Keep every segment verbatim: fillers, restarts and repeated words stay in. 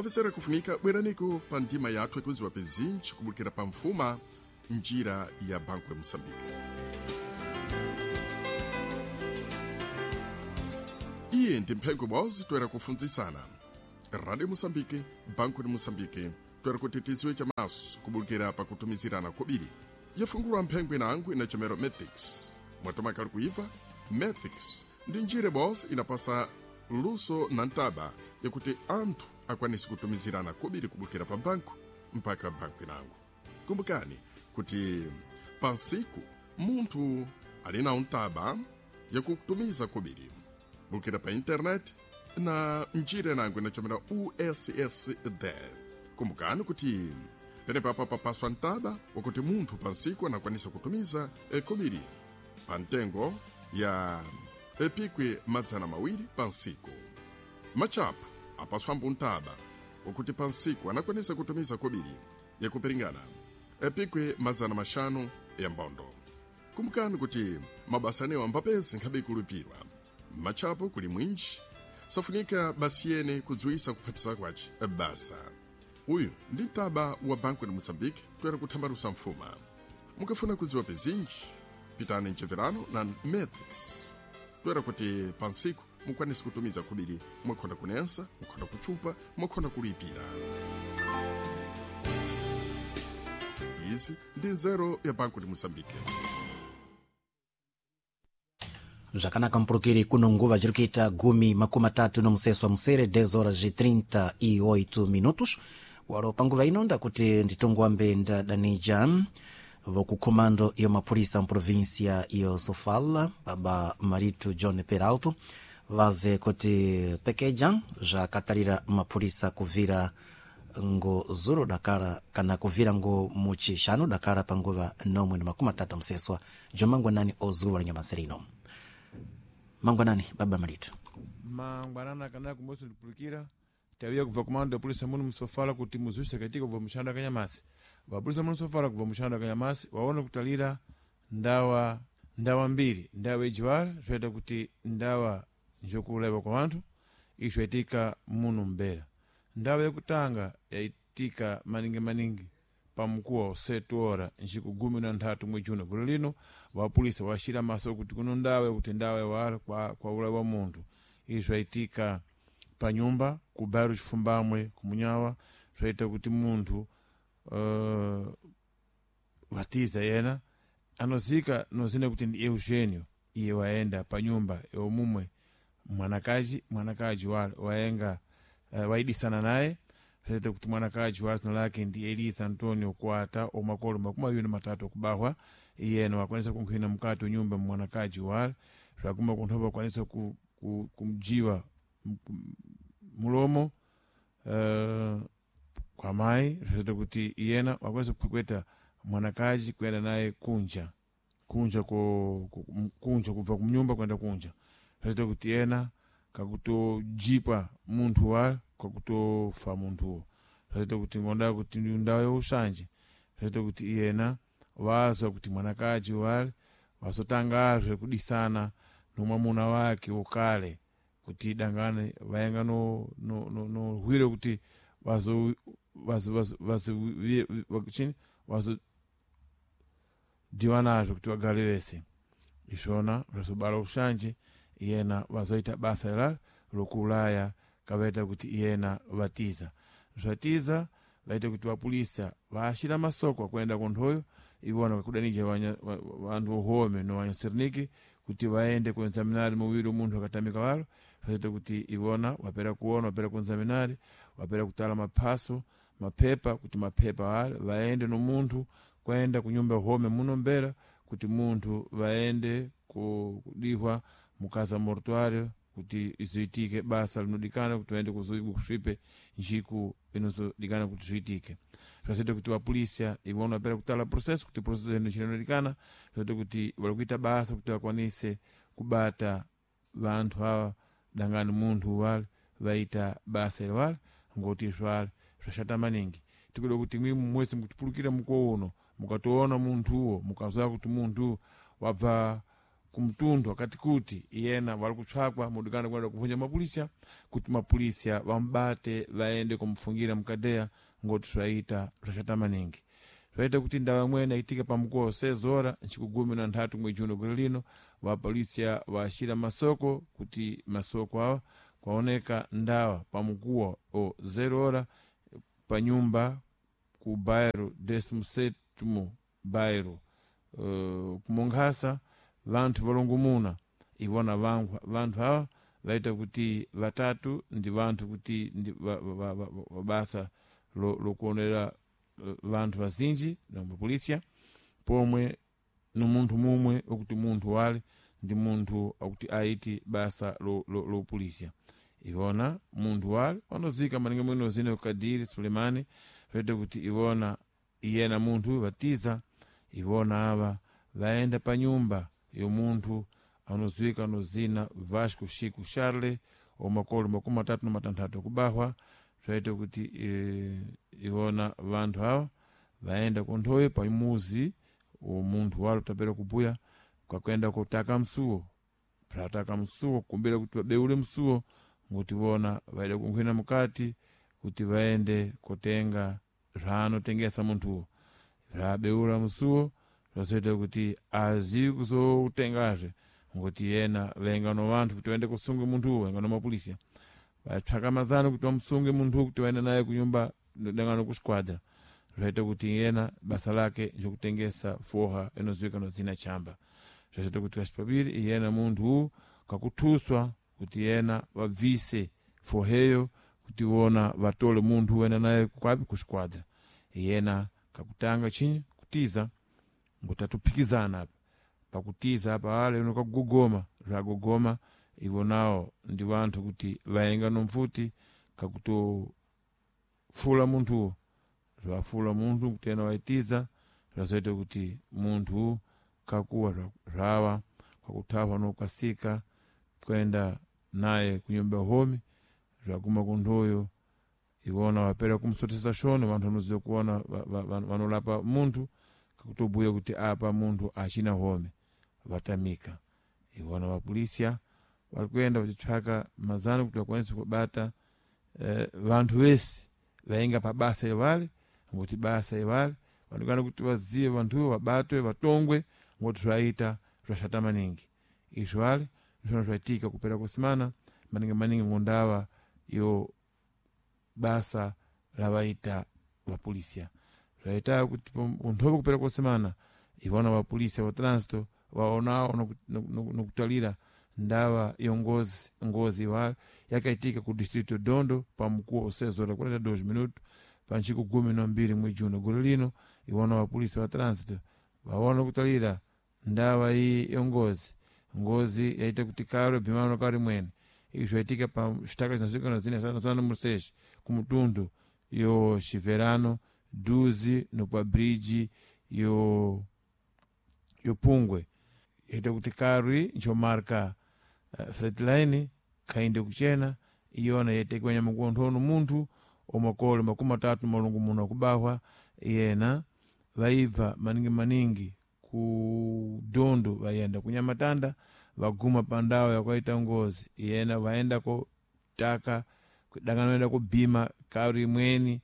Avesera kufunika bweraniko pa ndima yathu yakudziwa pezinji kubulukira pa mfuma njira ya Banco ya Moçambique. Iye ndi mphengo bwozi toera kufunzisana Radio Moçambique, Banco de Moçambique, toera kuti tidziwe chamaso kubulukira pakutumizirana kobiri. Yafungulwa mphengo inango inachomero Matrix. Mwatomakali kuiva Matrix ndi njira bwozi inapasa luso na ntaba yakuti anthu akwanise kutumizirana kobiri kubulukira pa banku mpaka banku inango. Kumbukani kuti pansiku munthu ali na ntaba yakutumiza kobiri bulukira pa internet na njira inango inachomera U S S D. Kumbukani kuti penepapo papaswa ntaba wakuti munthu pansiku anakwanisa kutumiza kobiri pa ntengo ya epikwi madzana mawiri pansiku. Machapu apaswambo ntaba wakuti pansiku anakwanisa kutumiza kobiri yakupiringana epikwi madzana maxanu ya mbondo. Kumbukani kuti mabasa anewo ambapezi nkhabe kulipirwa machapo kuli mwinji safunika basi yene kudziwisa kuphatisa kwace basa. Uyu ndi mtaba wa Banco de Moçambique toera kuthambalusa mfuma. Mukafuna kudziwa pezinji pitani mcheverano na Matrix toera kuti pansiku mukwanise kutumiza kubiri mwakhonda kunensa, mwakhonda kuchupa, mwakhonda kulipira. Izi ndi nzeru ya Banco de Moçambique. Zvakanaka mpurukiri kuno nguva zviri kuita gumi makumi atatu nomuseso wa musere dez horas e trinta e oito minutos. Waro panguva ino ndakuti nditongoambe ndadanija vokukhomando iyo mapurisa muprovinsia iyo Sofala baba Marito John Peralto vaze kuti pekeja zvakatarira mapurisa kuvira ngo zuro dakara kana kuvira ngo muchishanu dakara panguva nomwe na makumi atatu amuseswa jomangwanani ozuwa la nyamasere ino. Mangwanani baba Marito. Mangwanani akanaka kumosi ndipulukira tawiya kubva kumando ya polisi muno msofala kuti muzuise katika kubva mushando akanyamasi. Vapolisi muno msofala kubva mushando akanyamasi waona kutalira ndawa ndawa mbiri, ndawa ijiwala zvaita kuti ndawa njokuulaiwa kwa wanthu izvaitika muno mbera. Ndawa yakutanga yaitika maningi maningi pamukuwa wa sete ora njiku gumi na nthatu mwezi juno golo lino vapolisi waxira maso kuti kuno ndawa yakuti ndawa yawala kwa, kwa ulayi wa munthu. Izvi zvaitika pa nyumba ku bairro Chifumbamwe kumunyawa zvaita kuti munthu uh, vatiza yena anozika nozina kuti ndi Eugenio iye waenda pa nyumba yomumwe mwanakaji mwanakaji wa, waenga uh, waidisana naye zvaita kuti mwanakaji wa zina lake ndi Elisa Antonio Kwata omakolo makumi awiri na matatu okubahwa iyena wakwanisa kunkhwina mukati unyumba mwanakaji wale zvakuma kunthopa wakwanisa ku, ku, kumjiwa mulomo uh, kwa mayi zvaita kuti iyena wakwanisa kukhwekweta mwanakaji kuyenda naye kunja kunja ko, kunja kubva kumnyumba kwenda kunja zvaita kuti iyena kakutojipa munthu wale kwakutofa munthuwo zvaita kuti ngonda kuti ndawo yaushanje zvaita kuti iyena wazwa kuti mwanakaji wale wasotangazve kudisana nomwamuna wake wokale kuti dangane vaenga no no no, no hwiro kuti vazo vazo vazo vazo chini vazo diwanazvo kuti vagare vese izvona zvazobara ushanje iyena vazoita basa ilalo lokuulaya kavaita kuti iyena vatiza zvatiza vaita kuti vapulisa vaashira masoko akuenda kunthoyo ivona vakudanija vanthu vohome no vanyasirniki kuti vaende kuenzaminari muwiri munthu akatamika walo zvaita kuti ivona wapera kuona wapera kuenzaminari wapera kutala maphaso mapepa kuti mapepa ale vaende no munthu kuenda kunyumba home muno mbera kuti munthu vaende kudihwa mukaza mortuário kuti izoitike basa linodikana kuti vaende kusvipe njiku inozodikana kuti zviitike. Zvazoita kuti vapolisia ivona vapera kutala processo kuti processo ino inodikana zvazoita kuti vari kuita basa kuti vakwanise kubata vanthu ava dangani munthu wale vaita basa ili wale ngoti zvale zvashata maningi. Tikuda kuti mwimwe mwese mukutipulukira mukuwo uno mukatoona munthuwo mukazwa kuti munthu wabva kumtundu wakati kuti iyena wali kutshakwa mudikana kwenda kuvunja mapolisia kuti mapolisia vambate vaende kumfungira mkadeya ngoti swaita swachata maningi. Swaita kuti ndawa imwene yaitika pamukuwa seis horas ntsiku gumi na nthatu mwezi juno gore lino vapolisia vaxira masoko kuti masoko awa kwaoneka ndawa pamukuwa o zero hora pa nyumba ku bairro décimo sétimo bairro uh, kumonkhasa vanthu valongomuna ivona vangu vanthu awa vaita kuti vatatu ndi vanthu kuti ndi va, va, va, va, va basa lokuonera lo vanthu vazinji na mapolisia pomwe no munthu mumwe okuti munthu wale ndi munthu akuti aiti basa lo, lo, lo polisia ivona munthu wale wanozika maninga mwino zine Kadiri Sulemani vaita kuti ivona iyena munthu vatiza ivona ava vaenda pa nyumba yo munthu anozwika nozina Vasco Chico Charle omakolo makumi matatu na matanthatu akubahwa zvaita kuti e, ivona vanthu ava vaenda kunthowe pamuzi munthu walo tapera kubuya kakuenda kutaka msuwo prataka msuwo kumbira kuti vabeule msuwo nguti vona vaida kunkhwina mukati kuti vaende kotenga zvaanotengesa munthuwo zvabeula msuwo zvazoita kuti azivi kuzotengazve ngoti yena venga no vanthu kuti vaende kusunge munthuwo venga no mapolisia vatsvaka mazano kuti vamusunge munthuwo kuti vaende naye kunyumba dangano kusquadra zvaita kuti yena basa lake njokutengesa foha inoziwika nozina chamba zvazoita kuti kachipapiri iyena munthu kakuthuswa kuti yena vabvise foheyo kuti vona vatole munthu wena naye kwapi kusquadra iyena kakutanga chinyi kutiza ngutatuphikizana apa pakutiza apa wale uno kakugogoma zvagogoma ivo nawo ndi vanthu kuti vaenga nomfuti kakutofula munthuwo zvafula munthu kuti ena waitiza zvazoita kuti munthu kakuwa zvawa kakuthawa nokasika kwenda naye kunyumba homi zvaguma kunthoyo ivona vapera kumsotesa shoni vanthu vanoziva kuona vanolapa munthu kakutobuya kuti apa munthu achina home vatamika ivona vapolisia vari kuenda vachitsvaka mazano kuti vakwanise kubata eh, vanthu vese vainga pabasa ivale ngokuti basa ivale vanokana kuti vazive vanthuvo vabatwe vatongwe ngoti zvaita zvashata maningi izvi vale ndizvona zvaitika kupera kusimana maningi maningi ngondava yo basa lavaita vapolisia zvaita kuti unthope kupera kusimana ivona vapolisia va trânsito vaonawo nokutalira ndava yongozi ngozi iwala yakaitika ku distrito dondo pamukuwo seis horas quarenta e dois minutos pa ntsiku gumi na mbiri mwezi juno gore lino iwona vapolisi va trânsito vaona kutalira ndawa iyi yongozi ngozi yaita kuti karo bhimano kari mwene izvi zvaitika pa xitaka chinazikana zina zana número seis kumutundu yo xiverano duzi no pa bridge yo yo pungwe yaita kuti karwi nchomarka uh, fredline kainde kuchena iyona yaitekiwa nyamukuonthono munthu omakolo makumi matatu malungu muno akubahwa yena vaibva maningi maningi ku dondo vayenda kunyamatanda vaguma pandawo yakaita ngozi yena vaenda kotaka danganoenda kubhima karu imweni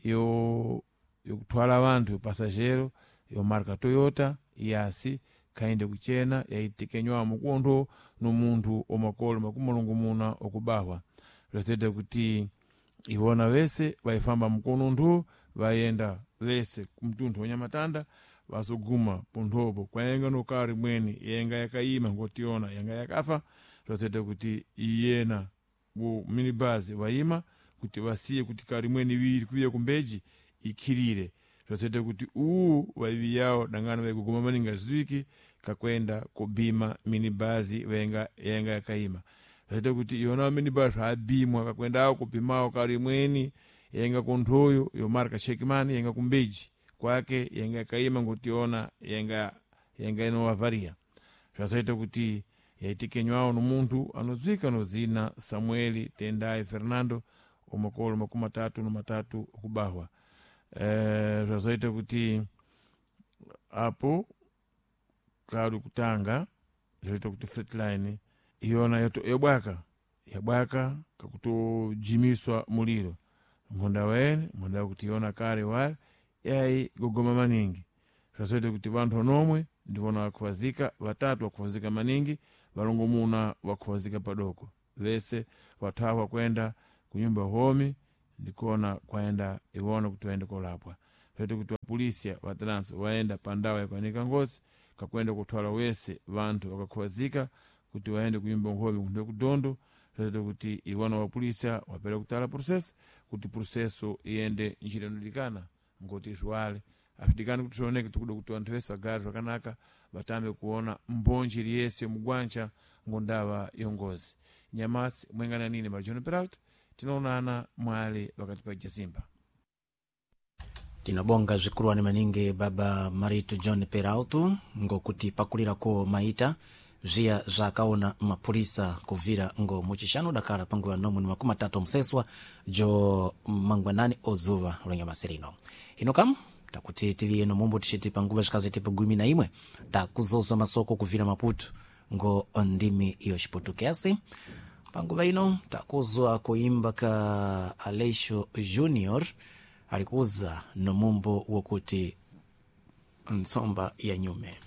yo yokutwala vanthu pasajero yo marka Toyota yasi kainde kuchena yaitekenywa mukuontho no munthu omakolo makumi malungumuna okubahwa zvazoita kuti ivona vese vaifamba mukono nthu vayenda vese kumtunthu wanyamatanda vazoguma ponthopo kwaenga nokari imweni yenga yakayima ngotiona yanga yakafa zvazoita kuti iyena wo minibus vayima kuti vasiye kuti kari imweni iviri kuviya kumbeji ikhirire zvazoita kuti uwu vaiviyawo dangano vaikuguma maningi azviwiki kakwenda kubhima minibhazi venga yenga yakayima zvazoita kuti yona minibhazi zvaabhimwa kakwendawo kubhimawo kari imweni yenga kunthoyo yomarka shekimani yenga kumbeji kwake yenga yakayima ngotiona yenga yenga inovavharia zvazoita kuti yaitikenywawo nomunthu anodzwika nozina Samueli Tendai Fernando omakolo makumi matatu no matatu okubahwa e, zvazoita kuti apo kari kutanga zvaita kuti flatline iyona yato yabwaka yabwaka kakutojimiswa muliro mhonda waene mhonda kuti iona kale wale yayi gogoma maningi zvazoita kuti vanthu onomwe ndivona vakhuvazika vatatu vakhuvazika maningi valongomuna vakhuvazika padoko vese vathawa kwenda kunyumba homi ndikona kwaenda iwona kuti vaende kolapwa zvaita kuti vapolisia vatranso vaenda pandawa yakuanika ngozi kakwenda kutwala wese vanthu vakakhuvazika kuti vaende kunyumba nkhomi kunde kudondo zvaita kuti iwona vapolisia wapera kutala processo kuti processo iyende njira inodikana ngoti zviwale azvidikani kuti zvioneke tikuda kuti vanthu vese vagare zvakanaka vatambe kuona mbonji liyese mugwancha ngondava yongozi nyamasi mwengana nini marjohn peralta tinoonana mwale pakati pa jazimba Tinobonga zvikuruwani maningi baba Marito John Peralto ngokuti pakulirako maita zviya zvakaona mapurisa kuvira ngo muchishanu dakala panguva nomwe ni makumi atatu omuseswa jo mangwanani ozuva lonyamasi lino hino kamu takuti tiliye nomumbo tichiti panguva zvikaziti gumi na imwe takuzozwa masoko kuvira Maputo ngo ndimi iyo Chiputukezi. Panguva ino takuzwa kuimba ka Aleixo Junior alikuza nomumbo wokuti ntsomba ya nyume.